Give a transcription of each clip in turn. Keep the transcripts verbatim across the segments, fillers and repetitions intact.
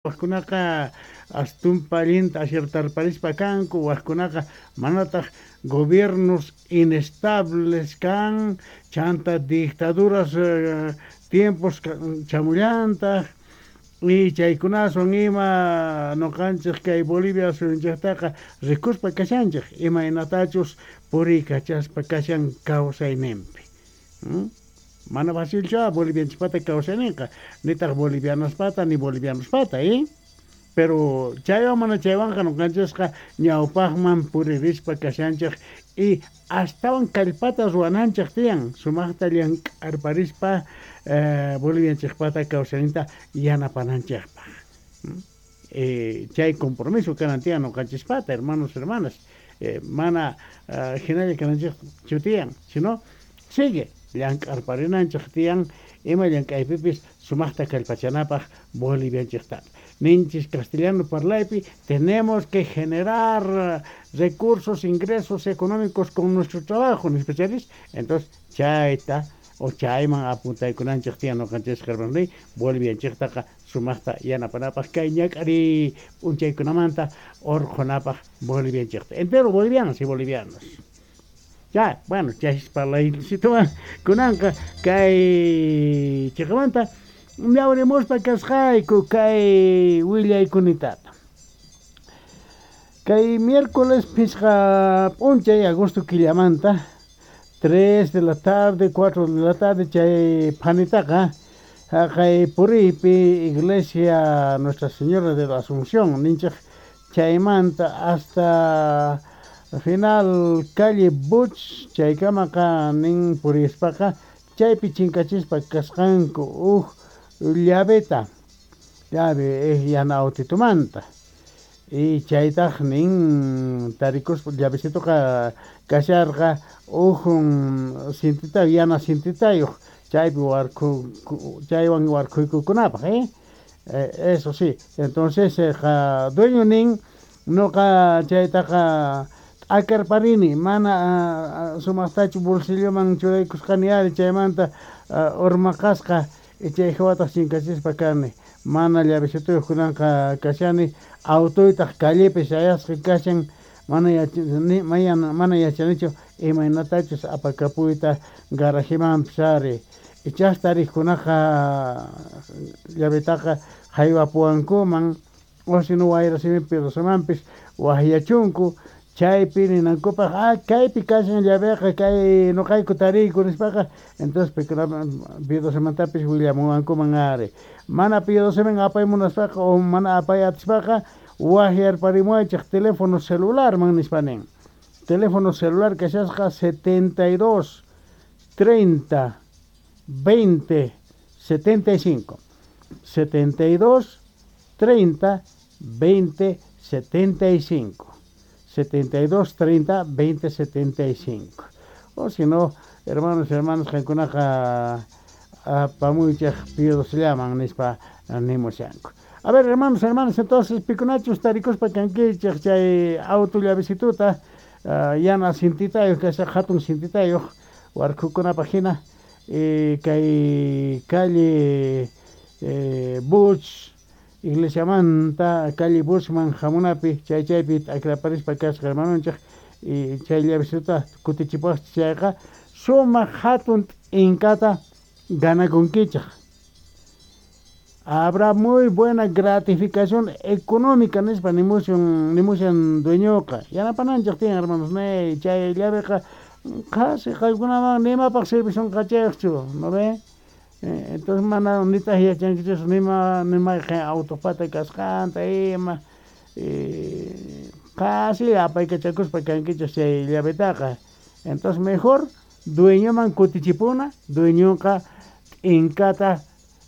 Wajkunaqa astumpa allinta asertarparispa kanku, wajkunaqa manataq. Gobiernos inestables kan, chanta dictaduras tiempos chamullantaq, y chaykunaswan ima noqanchej kay Bolivia suyunchejtaqa rikuspa kashanchej imaynatachus puriykachaspa kashan kawsayninpi. Mana facilchu bolivianchejpata kawsayninqa, nitaq bolivianaspata ni bolivianospata, ¿eh? Pero chaywan mana chaywanqa noqanchejqa ñawpaqman puririspa kashanchej y astawan kallpata ruwananchej tiyan sumaqta llank'arparispa eh, bolivianchejpata kawsayninta yanapananchejpaq. Eh, chay compromiso kanan tiyan noqanchejpata, hermanos, hermanas, eh, mana uh, hinalla kananchejchu tiyan, sino sigue llank'arparinanchej tiyan ima llank'aypipis sumaqta kallpachanapaq bolivianchejtata. Ninchis castellano parlaypi, tenemos que generar recursos, ingresos económicos con nuestro trabajo, nispacharis. Entonces chayta o chayman apuntaykunanchej tiyan noqanchej, hermanos, bolivianchejtaqa sumaqta yanapanapaq kay ñak'ariy p'unchaykunamanta orqhunapaq bolivianchejta, entero bolivianos y bolivianos. Ya, bueno, chaypis parlaycituwan kunanqa kay chiqamanta llawrimuspa kasqayku kay willaykunitata. Kay miércoles phisqa p'unchay agosto killamanta, tres de la tarde, cuatro de la tarde, chay phanitaqa haqay puriypi iglesia Nuestra Señora de la Asunción ninchej chaymanta hasta final calle Buch chaykamaqa nin purispaqa chaypi chinkachispa kasqanku uj llaveta, llave yana autitumanta, y chaytaj nin tarikuspa llavecitoqa kasharqa uj cintita, yana cintitayuq, chaypi warkhu chaywan warkhuykukunapaq, eh eso sí. Entonces qa dueño nin noqa chaytaqa t'akarparini, mana sumaqtachu bolsilloman churaykusqani ari, chaymanta urmaqasqa, chay hawataq chinkachispa kani, mana llavecituyuq kunanqa kashani, autoytaq callepi sayasqa kashan, mana yachani mana yachanichu imaynatachus apakapuyta garajemanpis ari, ichas tarikunaqa llavetaqa haywapuwankuman, o sino wayra simipi Rosamanpis wajyachunku chaypi ninankupaq, ah, kaypi kashan llaveqa, kay noqayku tariyku nispaqa. Entonces Piedrosamantapis willamuwankuman ari. Mana Piedrosaman apay munaspaqa o mana apay atispaqa wajyarparimuwaychej teléfono celularman nispa nin. Teléfono celular kashasqa setenta y dos treinta veinte setenta y cinco, setenta y dos treinta veinte setenta y cinco, setenta y dos treinta veinte setenta y cinco. O si no, hermanos y hermanas, qankunaqa apamuychej Piedrosallaman nispa nimushanku. A ver, hermanos, hermanas, entonces pikunachus tarikuspa kankichej chay auto llavecituta uh, yana cintitayuq kasha, hatun cintitayuq warkhukunapaq hina, eh, kay calle eh, Buch iglesiamanta calle Buchman hamunapi chay chaypi t'akraparispa kasqa hermanonchej, y chay llavecituta kutichipuwaqchis chayqa sumaq hatun t'inkata ganakunkichej. Habrá muy buena gratificación económica nispa nimushan nimushan dueñoqa. Yanapananchej tiyan, hermanos, ne chay llaveqa qhasi qankunaman nimapaq servishunqachejchu, ¿no ve? Entonces mana nitaq yachankichis nima nimayqen autopata kasqanta ima, qhasi apaykachakuspa kankichej chay llavetaqa. Entonces mejor dueñoman kutichipuna, dueñoqa t'inkata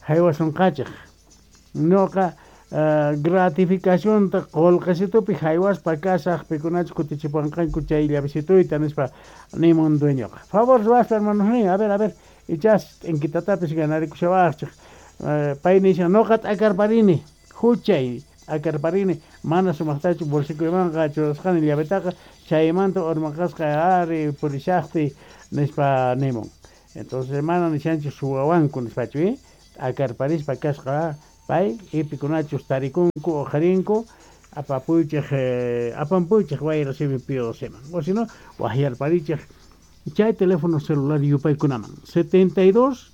haywasunqachej. Noqa uh, gratificacionta qolqesitupi haywaspa kasaq pikunachus kutichipuwanqanku chay llavecituyta nispa nimun dueñoqa. Favor ruwaspa, hermanos nin, a ver, a ver, ichas t'inkitatapis ganarikushawaqchej. uh, pay nishan noqa t'akarparini, huchay t'akarparini, mana sumaqtachu bolsilloymanqa churasqani llavetaqa, chaymanta urmaqasqa ari purishaqtiy nispa nimun. Entonces mana nishanchu suwawanku nispachu, eh t'akarparispa kasqa. Pay ipikunachus tarikunku uqharinku apapuychej eh, apampuychej wayra simi P O C man. O si no, wajyarparichej chay teléfono celular yupaykunaman setenta y dos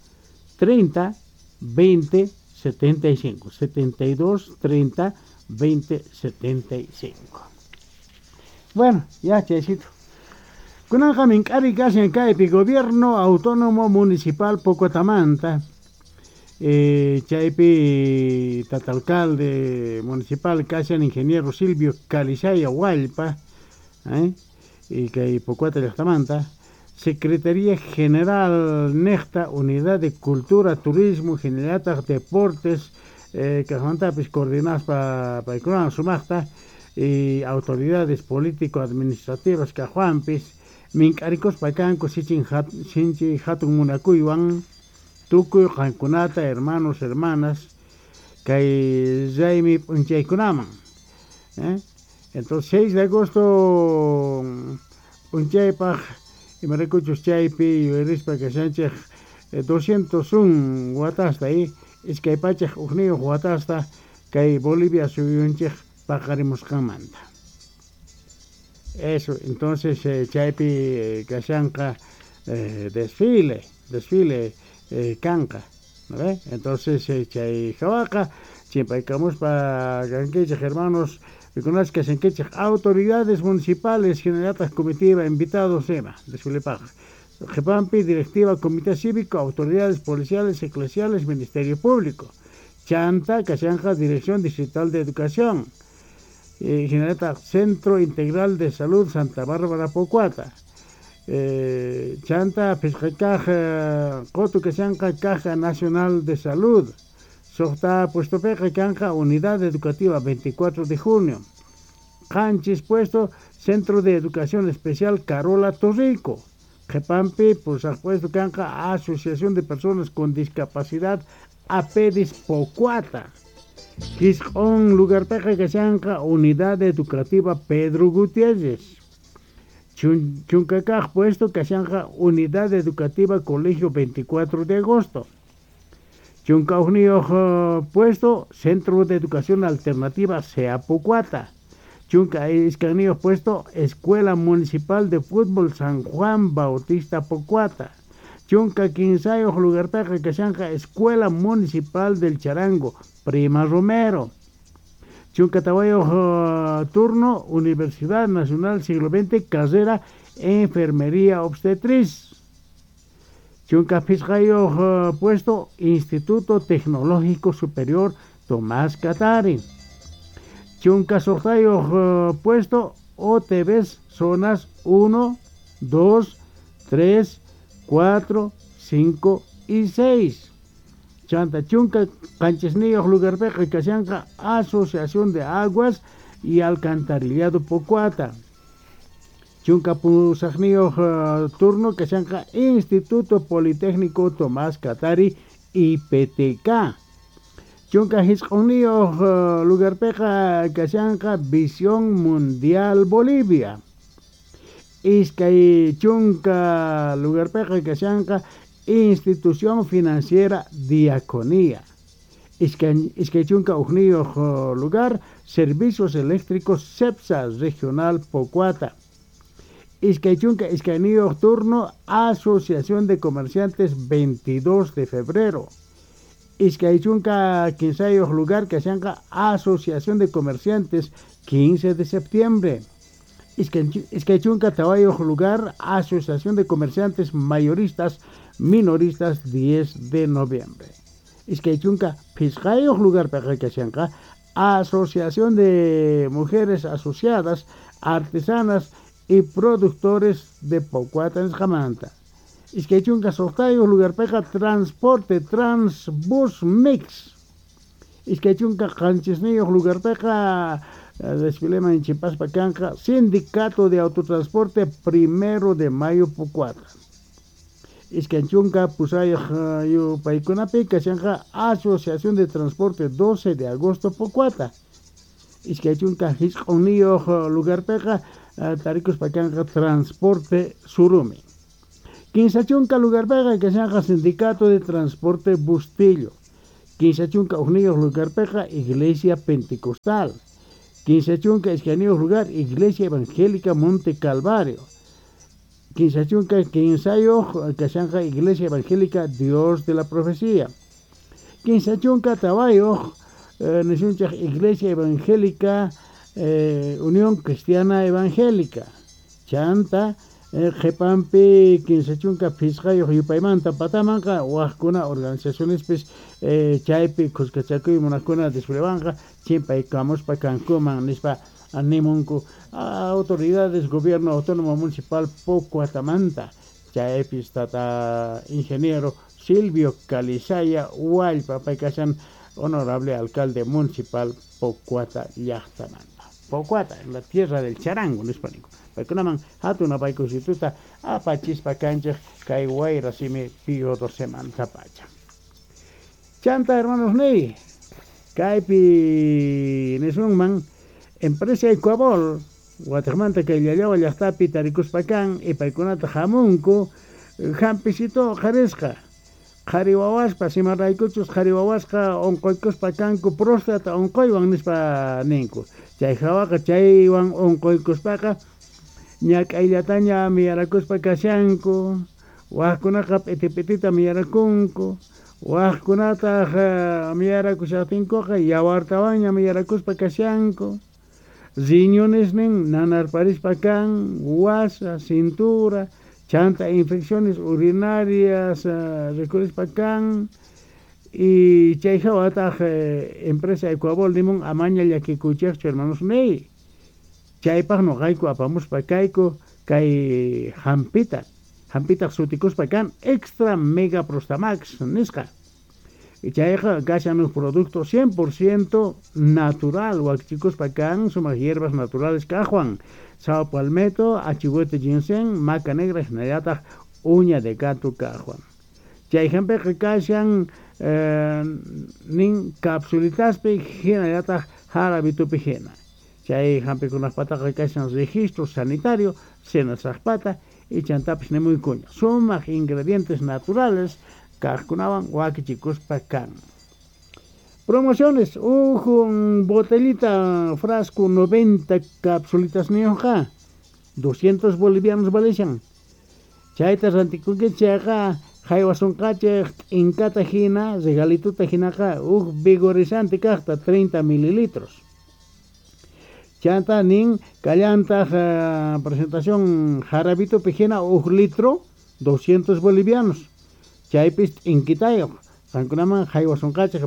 treinta veinte setenta y cinco, setenta y dos treinta veinte setenta y cinco. Bueno, ya chaycito. Kunanqa mink'ari kashan kaypi Gobierno Autónomo Municipal Pocotamanta. Eh, chaypi tata alcalde municipal kashan ingeniero Silvio Calizaya Hualpa, ¿eh? Y kay Pocuata llaqtamanta. Secretaría General Nexta, Unidad de Cultura, Turismo, Generalata, Deportes, eh, kajmantapis coordinaspa paykunawan sumaqta, y autoridades político-administrativas kajwanpis, mink'arikuspa kanku sichin hat-, sinchi hatun munakuywan, tukuy qankunata, hermanos, hermanas, kay raymi p'unchaykunaman, ¿eh? Entonces, seis de agosto p'unchaypaj, imaraykuchus chaypi yuyarispa kashanchej, eh, doscientos un watasta, eh, iskay pachaj ujniyuq watasta kay Bolivia suyunchej paqarimusqanmanta. Eso, entonces, eh, chaypi, eh, kashanqa, eh, desfile, desfile, eh, kanqa, ¿no ve? Entonces, eh, chay jawaqa, chimpaykamuspa kankichej, hermanos, pikunachej kashankichej, autoridades municipales, generatas comitiva, invitados, ema, desfile paja. Jepampi, directiva, comité cívico, autoridades policiales, eclesiales, ministerio público. Chanta, Cachanja, Dirección Distrital de Educación. Eh, Generata, Centro Integral de Salud, Santa Bárbara, Pocuata. Eh, Chanta, Pizcacaja, Coto, Cachanja, Caja Nacional de Salud. Sojta, Puesto Peja, Canja, Unidad Educativa, veinticuatro de junio. Canchis, Puesto, Centro de Educación Especial, Carola Torrico. Jepampi, por supuesto, Canja, Asociación de Personas con Discapacidad, Apedis Pocuata. Quiscón, lugar peja, Cachanja, Unidad Educativa Pedro Gutiérrez. Chun, Chuncacaj, puesto, Cachanja, Unidad Educativa Colegio veinticuatro de agosto. Chuncaujnio, puesto, Centro de Educación Alternativa Seapocuata. Chunca Iscanillo, puesto, Escuela Municipal de Fútbol San Juan Bautista Pocuata. Chunca Quinsayo, lugar peja, Cachanja, Escuela Municipal del Charango, Prima Romero. Chunca Tahuayo, uh, turno, Universidad Nacional Siglo veinte, carrera Enfermería Obstetriz. Chunca Pizcayo, uh, puesto, Instituto Tecnológico Superior Tomás Katari. Chunca Sortayo, uh, puesto, O T V zonas uno, dos, tres, cuatro, cinco y seis. Chanta Chunca, Canchesnillo, Lugarpeja y Casianca, Asociación de Aguas y Alcantarillado Pocuata. Chunca Pusajnillo, uh, turno, Casianca, Instituto Politécnico Tomás Katari, I P T K. Chunca Hisconillo, uh, Lugarpeja, Casianca, Visión Mundial Bolivia. Iskay Chunca, Lugarpeja, Casianca, Institución Financiera Diaconía. Iskay, Iskay Chunca, Ujnillo, lugar, Servicios Eléctricos CEPSA, Regional Pocuata. Iskay Chunca, Iskaynillo, turno, Asociación de Comerciantes, veintidós de febrero. Iskay Chunca, Quinsayo, lugar, Casianca, Asociación de Comerciantes, quince de septiembre. Iskay Chunca, Tabayo, lugar, Asociación de Comerciantes Mayoristas, Minoristas, diez de noviembre. Iskay Chunca, Pizcayo, lugar, Casianca, Asociación de Mujeres Asociadas, Artesanas y Productores de Pocuata en Jamanta. Iskay Chunca, Sotayo, lugar, Peja, Transporte, Transbus Mix. Iskay Chunca, Canchesnillo, lugar, Peja, desfile en Chimpaspa, Canja, Sindicato de Autotransporte, primero de mayo, Pocuata. Iskay Chunca, Pusayo, Paicunapi, Cachanja, Asociación de Transporte, doce de agosto, Pocuata. Iskay Chunca, Hisconillo, lugar, Peja, Taricos, Pacanja, Transporte, Surumi. Quince Chunca, lugar, Peja, Cachanja, Sindicato de Transporte, Bustillo. Kinsa chunka hukniyuq lugarpiqa Iglesia Pentecostal. Kinsa chunka iskayniyuq lugar Iglesia Evangélica Monte Calvario. Kinsa chunka kinsayuq kashanqa Iglesia Evangélica Dios de la Profecía. Kinsa chunka tawayuq eh, nisunchaq Iglesia Evangélica eh, Unión Cristiana Evangélica. Chanta eh, qhipanpi kinsa chunka phisqayuq yupaymanta patamanqa waqkuna organizacionespis eh, chaypi khuskachakuy munaqkuna desflewanqa chimpaykamuspa kankuman nispa nimunku autoridades gobierno autónomo municipal Pocuatamanta chaypis tata ingeniero Silvio Calizaya Huallpa pay kashan honorable alcalde municipal Pocuata llaqtamanta. Pocuata, en la tierra del charango nispa ninku. Paykunaman hatun apaykusituta apachispa kanchik kay wayra simi Pío docemanta pacha. Chanta hermanos niy, kaypi nisunman empresa Ecuabol wataqmanta kay Llallawa llaqtapi tarikuspa kan y paykunata hamunku hampisito qarisqa qhari wawaspa simaraykuchus qhari wawasqa unquykuspa kanku próstata unquywan nispa ninku. Chay hawaqa chaywan unquykuspaqa ñak'ayllataña miyarakuspa kashanku, waqkunaqa p'iti p'itita miyarakunku, waqkunataq miyarakushaqtinkuqa yawartawanña miyarakuspa kashanku, riñonesnin nanarparispa kan, wasa, cintura, chanta infecciones urinarias uh, rikurispa kan, y chay hawataq eh, empresa Ecuabol nimun amaña llakikuychikchu hermanos niy. Chaypaq nuqayku apamuspa kayku kay hampita, hampitaq sutikuspa kan Extra Mega Prostamax nisqa. Y chayqa kashan uj producto cien por ciento natural wakichikuspa kan sumaq hierbas naturales kaqwan, sao palmetto, achihuete ginseng, maca negra hinallataq uña de gato kaqwan. Chay hampiqa kashan eh, nin capsulitaspi hinallataq jarabitupi hina. Chay hampikunaqpataqa kashan registro sanitario senasaqpata y chantapis nimuykuña. Sumaq ingredientes naturales kaqkunawan wakichikuspa kan. Promociones, uj botellita frasco noventa capsulitas niyuqqa doscientos bolivianos valishan. Chayta rantikunki chayqa haywasunqachik t'inkata hina regalituta hinaqa uj vigorizante kaqta treinta mililitros. Chanta nin kallantaq uh, presentación jarabitupi hina uj litro doscientos bolivianos. Chaypis t'inkitayuq qankunaman haywasunqachik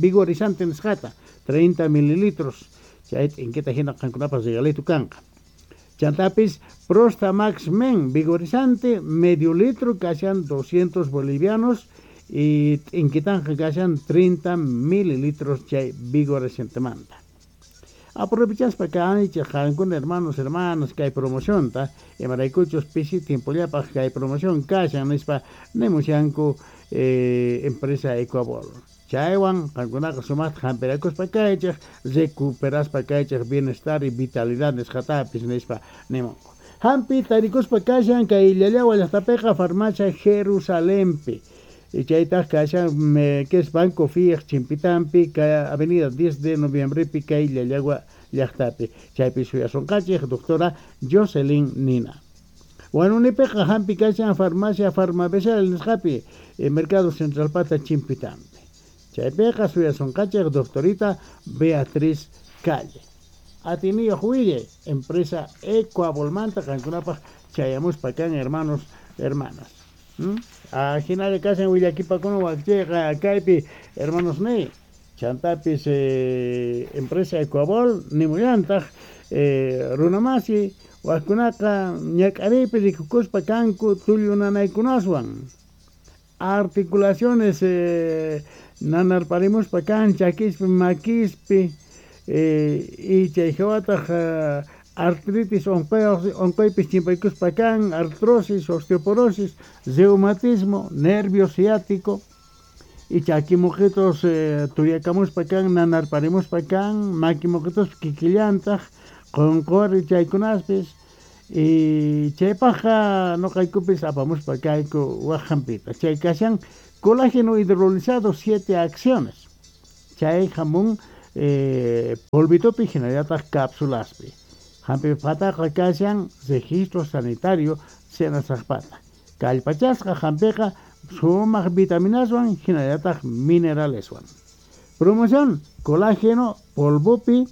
vigorizante nisqata treinta mililitros. Chay t'inkita hina qankunapas regalito kanqa. Chantapis Prostamax Men vigorizante medio litro kashan doscientos bolivianos y t'inkitanja kashan treinta mililitros chay vigorizantemanta. Aprovechaspa kanchik qankuna hermanos hermanas kay promocionta imaraykuchus pisi tiempollapaq kay promoción kashan nispa nimushanku eh, empresa Ecuabol. Chaywan qankunaqa sumaqta hampirakuspa kaychik recuperaspa kaychik bienestar y vitalidad nisqatapis nispa nimunku. Hampi tarikuspa kashan kay Llallawa llaqtapiqa farmacia Jerusalempi. Y chaytaq kashan que es Banco Fiej chimpitampi kay avenida diez de noviembre pi kay Llallagua llaqtapi. Chaypi suyasunqachik doctora Jocelyn Nina. Wanunipiqa hampi kashan farmacia Farmabesal nisqapi Mercado Central pata chimpitampi. Chaypiqa suyasunqachik doctorita Beatriz Calle. Atiniyuq wille empresa Ecuabolmanta qankunapaq chayamuspa kan hermanos hermanas. ¿Mm? Ajinalla kashan willakipakuna wakchayqa kaypi hermanos niy. Chantapis eh, empresa Ecuabol nimullantaq eh, runamasi waqkunaqa ñak'ariypi rikukuspa kanku tullunanaykunaswan. Articulaciones eh, nanarparimuspa kan chakispi makispi eh, y chay hawataq eh, artritis onqoypis chimpaykuspa kan, artrosis, osteoporosis, reumatismo, nervio ciático y chakimuqitos eh, tuyakamuspa kan, nanarparimuspa kan, makimuqitos kikillantaq, qunquri chaykunaspis y chaypaqqa nuqaykupis apamuspa kayku waq hampita. Chay kashan Colágeno hidrolizado siete acciones. Chay jamón eh, polvitopi hinallataq cápsulaspi. Hampi pataqa kashan registro sanitario senasaqpata. Kallpachasqa hampiqa sumaq vitaminaswan hinallataq mineraleswan. Promoción colágeno polvopi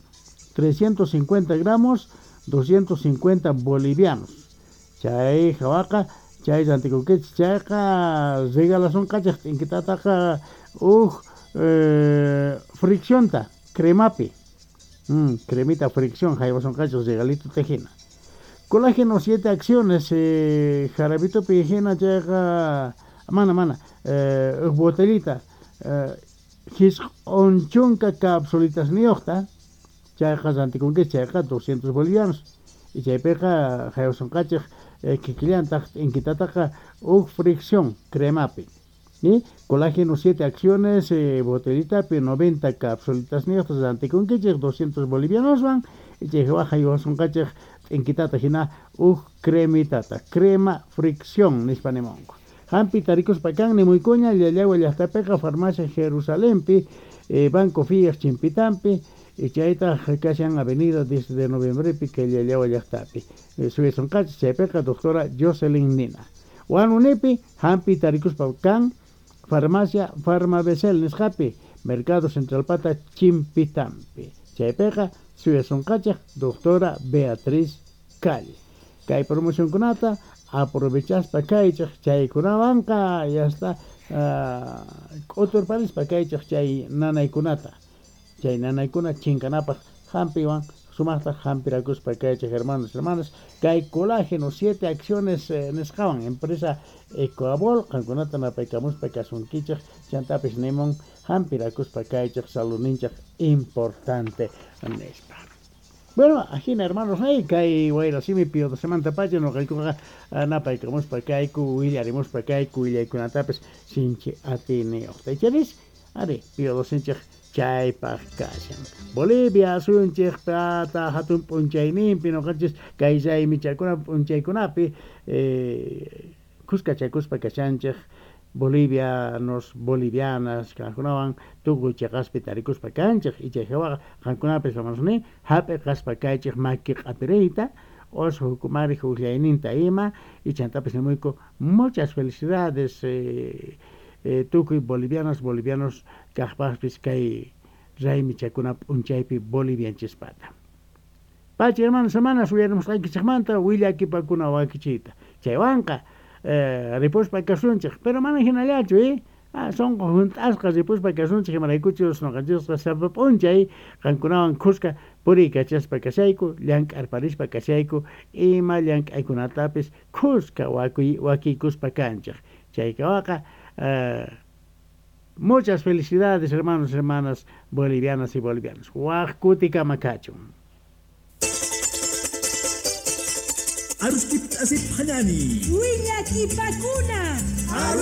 trescientos cincuenta gramos doscientos cincuenta bolivianos. Chay hawaqa chay rantikunkichik chayqa regalasonqachik t'inkitataqa uj eh, friccionta cremapi. Mm, cremita fricción haywasonqachik regalito tejina. Colágeno siete acciones eh, jarabitopi hina chayqa mana mana eh, uj botellita eh, hisq'un chunka capsulitas niyuqta chayqa rantikunkichik chayqa doscientos bolivianos. Y chaypiqa haywasonqachik eh, kikillantaq t'inkitataqa uj fricción cremapi. ¿Y? Colágeno siete acciones, eh, botellitapi noventa capsulitas niyuqta rantikunkichik doscientos bolivianoswan y chayqa haywasonqachik t'inkitata hina uj cremitata, crema fricción nispa nimunku. Hampi tarikuspa kan nimuykuña Llallagua llaqtapiqa farmacia Jerusalempi, eh, Banco Fiat chimpitampi, y chaytaq kashan avenida diez de noviembrepi kay Llallagua llaqtapi. Eh, suyasonqachik chaypiqa doctora Jocelyn Nina. Wanunipi hampi tarikuspa kan farmacia Farmabesel nisqapi, Mercado Central Pata chimpitampi. Chaypiqa suyasonqachik doctora Beatriz Calle. Kay promocionkunata aprovechaspa kaychik chaykunawanqa ya está uh, k'uturparispa kaychik chay nanaykunata. Chay nanaykuna chinkanapaq hampiwan sumaqta hampirakuspa kaychik hermanos hermanas. Kay colágeno siete acciones eh, nisqawan empresa Ecoabol qankunata napaykamuspa kasunkichik chantapis nimun hampirakuspa kaychik saludninchik importante nispa. Bueno, ajina hermanos, hey, kay wayrasimi pio semanta pacha noqaykuqa napaykamuspa kayku willarimuspa kayku willaykunatapis sinchi atiniyuqta. Icharis, ari, pio dosenchik chaypaq kashan. Bolivia suyunchik pata hatun p'unchayninpi noqanchis kay raymichakuna p'unchaykunapi eh, kuskachakuspa kashanchik bolivianos, bolivianas, qankunawan tukuy chiqaspi tarikuspa kanchik y chay hawaqa qankunapis hermanos ni hap'iqaspa kaychik maki q'apiriyta os hukumari huqllayninta ima y chantapis nimuyku muchas felicidades eh, eh, tukuy bolivianas, bolivianos kaqpaqpis kay raymichakuna p'unchaypi bolivianchispata. Pacha hermanos, hermanas, uyarimusqaykichikmanta willakipakuna wakichiyta. Chaywanqa eh, ripuspa kasunchik, pero mana hinallachu, eh? Ah, sonqo hunt'asqa ripuspa kasunchik imaraykuchus noqanchisqa sapa p'unchay qankunawan khuska puriykachaspa kashayku, llank'arparispa kashayku, ima llank'aykunatapis khuska wakuy wakiykuspa kanchik. Chaykawaqa eh, muchas felicidades hermanos, hermanas bolivianas y bolivianos. Waq kutikama kachun. Arustip asip hanani. Willakipakuna.